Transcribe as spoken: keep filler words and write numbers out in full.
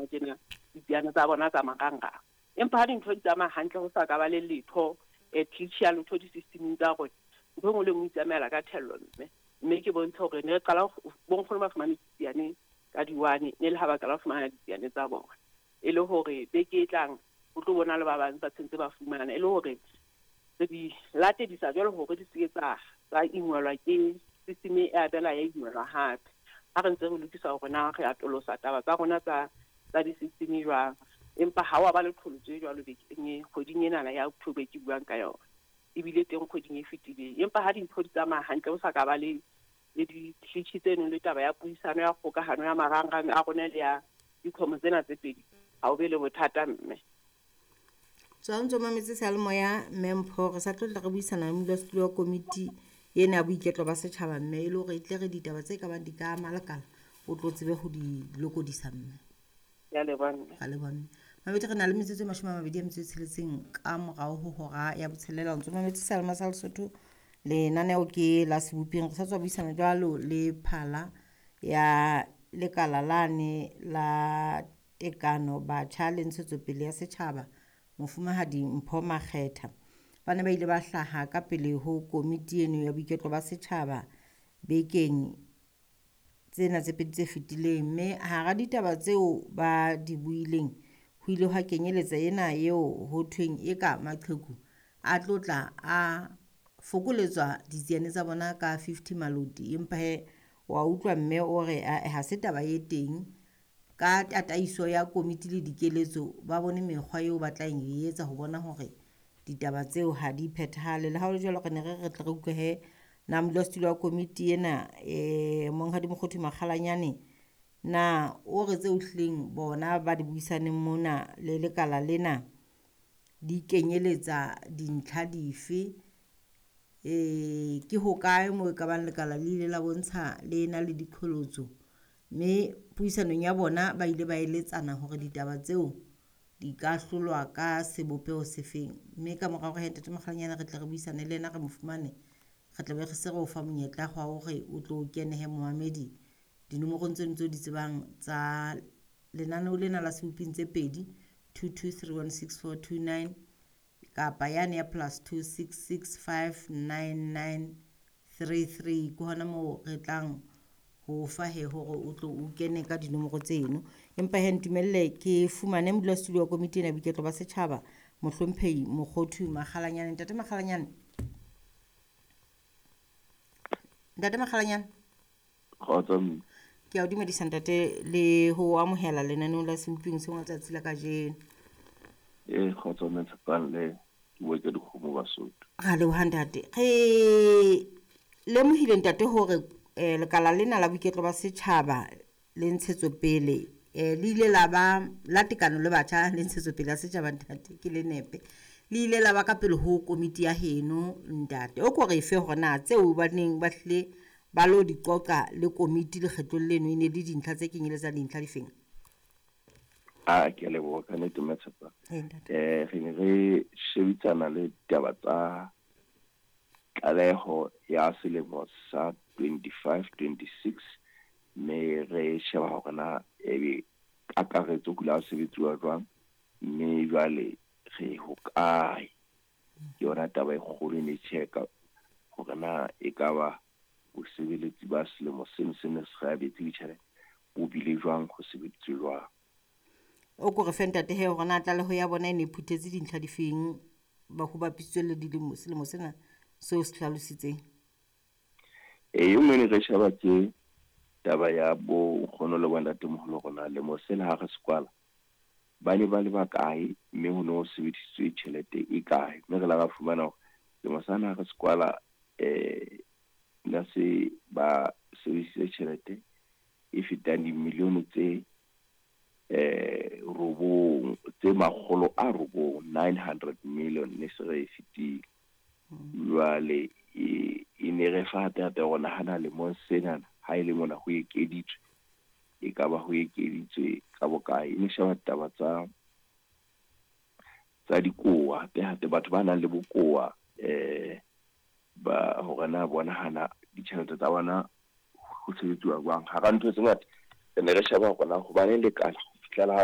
jwang tjena ditsiane tsa bona tsa marangrang. Empa ha dintho di tsamaya hantle ho sa ka ba le letho eh glitch ya letho di-systeming tsa rona, ntho e nngwe le e nngwe e itsamaela ka thello mme. Mme ke bontshe hore ne re qala bo nkgono ba fumane ditsiane ka di-one, ne le ha ba qala ho fumana ditsiane tsa bona. E le hore beke e tlang ho tlo bona le ba bang ba tshwantse ba fumana, e le hore re di latedisa jwalo hore di se ke tsa tsa ingwelwa ke system e abela ya ingwelwa hape. Ha re ntse re lokisa hore na re atolosa taba tsa rona tsa tsa di-system jwang. Empa ha wa ba le qholotso e jwalo bekeng e kgweding enana ya October e ke buang ka yona. Ebile teng kgweding e fetileng. Empa ha dintho di tsamaya hantle ho sa ka ba le le di-glitch tseno le taba ya puisano ya kgokahano ya marangrang a rona le ya dikhomo tsena tse pedi, ha o be le bothata mme. Tswa o ntso mametse seyalemoya mme Mpho, re sa tlo tla re buisana le modulasetulo wa komiti ena ya boiketlo ba setjhaba mme e le hore e tle re ditaba tse kabang di ka ama lekala o tlo tsebe ho di lokodisa mme. Ke a leboha mme. Ra leboha mme. Mamedi re na le metsotso e mashome a mabedi a metso e tsheletseng ka morao ho hora ya botshelela. O ntso mametse seyalemoya sa Lesotho, lenaneo ke la Seboping. Re sa tswa buisana jwalo le phala ya lekala lane la tekano batjha le ntshetsopele ya setjhaba, Mofumahadi Mpho Makgetha. Ba ne ba ile ba hlaha ka pele ho komiti eno ya boiketlo ba setjhaba bekeng tsena tse pedi tse fetileng, mme hara ditaba tseo ba di buileng ho ile hwa kenyeletsa ena eo ho thweng eka maqheku a tlo tla a fokoletswa ditsiane tsa bona ka fifty maloti. Empa he wa utlwa mme o re ae ha se taba e teng. Ka tataiso ya komiti le dikeletso ba bone mekgwa eo ba tla e etsa ho bona hore ditaba tseo ha di phethahale. Le ha ho le jwalo re ne re re tle re utlwe he na modulasetulo wa komiti ena eh Monghadi Mokgothu Makgalanyane na o re tseo hlileng bona ba di buisaneng mona le lekala lena di kenyeletsa dintlha dife? Eh ke hokae moo e ka bang lekala le ile la bontsha le na le diqholotso, mme puisanong ya bona ba ile ba eletsana hore ditaba tseo di ka hlolwa ka sebopeho sefeng. Mme ka mora hore he Ntate Makgalanyane re tle re buisane le yena re mo fumane, re tla be re se re o fa monyetla wa hore o tlo kenehe momamedi dinomorong tseno tseo di tsebang tsa lenaneo lena la Seboping tse pedi, two two three one six four two nine kapa yane ya plus two six six five nine nine three three. Ke hona moo re tlang ho fa he hore o tlo o kene ka dinomoro tseno. Empa he ntumelle ke fumane modulasetulo wa komiti ena ya boiketlo ba setjhaba, Mohlomphehi Mokgothu Makgalanyane. Ntate Makgalanyane, Ntate Makgalanyane, Kgotso mme. Ke a o dumedisa ntate le ho amohela lenaneong la Seboping seng la tsatsi la kajeno. Eh kgotso mme Tshepang le ke bua ke dikgomo Basotho. Ra leboha ntate. Re lemohile ntate hore eh lekala lena la boiketlo ba setjhaba le ntshetsopele eh le ile la ba la tekano le batjha le ntshetsopele ya setjhaba ntate ke le nepe. Le ile la ba ka pele ho komiti ya heno ntate. O ko re fe hore na tseo ba neng ba hlile ba lo di qoqa le komiti lekgetlong leno e ne le dintlha tse kenyeletsang dintlha difeng? A ke a leboha ka nnete mme Tshepang. Eh ntate. Eh re ne re shebisana le ditaba tsa tlaleho ya selemo sa twenty-five twenty-six, mme re sheba hore na ebe kakaretso ho ile ha sebetsuwa jwang, mme jwale re hokae. Ke yona taba e kgolo e ne check-a hore na ekaba bosebeletsi ba selemo seno se ne se re abetse ditjhelete bo bile jwang, ho sebeditswe jwang. O ko re fe ntate he hore na tlaleho ya bona e ne e phuthetse dintlha difeng ba ho bapisitswe le dilemo selemo sena seo se hlalositseng. E nngwe ne re sheba ke taba ya bo nkgono le bontatemoholo rona lemo sena ha re se kwala ba ne ba le bakae, mme ho no sebedisitswe tjhelete e kae. Mme re la ra fumana hore lemo sena ha re se kwala eh na se ba sebedisitse tjhelete e fetang dimilione tse eh robong tse makgolo a robong, nine hundred million ne se re e fetile. Jwale e e ne re fa hape hape hore nahana lemong sena ha e le mona ho ekeditswe, e ka ba ho ekeditswe ka bokae. E ne sheba taba tsa tsa dikowa hape hape batho ba nang le bokowa eh ba hore na bona hana ditjhelete tsa bona ho sebetsuwa jwang. Hara ntho tse ngata re ne re sheba hore na hobaneng lekala ho fihlela ha